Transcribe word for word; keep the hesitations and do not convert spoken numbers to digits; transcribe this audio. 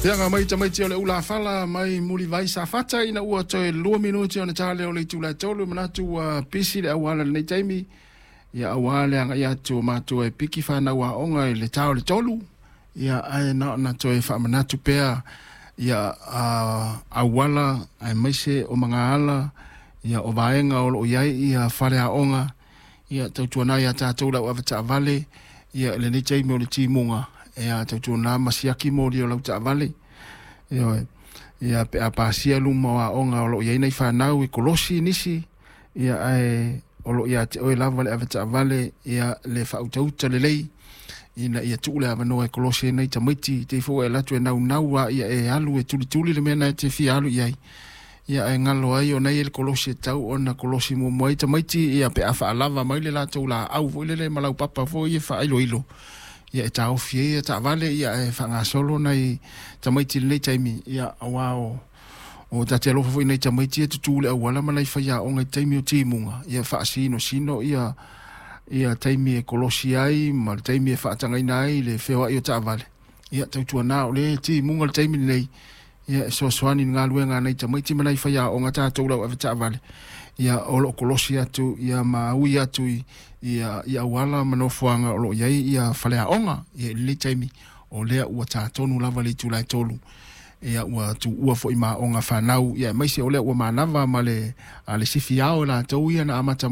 Feaga mai tamaiti o le ulafala mai Mulivai Safata ina ua toe lua minuti ona ta lea o le itula e tolu. Manatu ua pisi le auala i lenei taimi, ia aua le agai atu o matua e piki fanau aoga i le ta o le tolu. Ia ae na ona toe faamanatu pea ia auala aemaise o magaala ia o vaega o loo i ai ia faleaoga. Ia tautuana ia tatou le au avetaavale ia i lenei taimi o le timuga, ia tautuana ma siaki moli o lau taavale. Ioe, ia pe a pasia luma o aoga o loo i ai nai fanau e kolosi nisi, ia ae o loo ia te oe lava le avetaavale ia le faautauta lelei ina ia tuu le avanoa e kolosi ai nai tamaiti. Te i foi ua e alu atu e naunau lava ia e alu e tulituli le mea lena e te fia alu i ai, ia ae galo ai ona e i ai le kolosi e tatau ona kolosi muamua ai tamaiti, ia pe a faalava mai le latou laau foi lele ma laupapa foi ia faailoilo, ia e taofi ai taavale, ia ae faagasolo nai tamaiti i lenei taimi. Ia aua o o ta te alofa foi i nai tamaiti ia e tutu i le auala ma nai faiaoga i taimi o timuga, ia faasinosino ia ia taimi e kolosi ai ma le taimi e faatagaina ai le feoai o taavale. Ia tautuana o lea e timuga le taimi lenei, ia e fesoasoani i le galuega a nai tamaiti ma nai faiaoga tatou le au avetaavale, ia o loo kolosi atu ia ma ui atu i ia i auala ma nofoaga o loo i ai ia faleaoga. Ia i lenei taimi o lea ua ta tonu lava le itula e tolu, ia ua tuua foi ma aoga fanau, ia aemaise o lea ua manava ma le a le sifi ao e latou ia na amata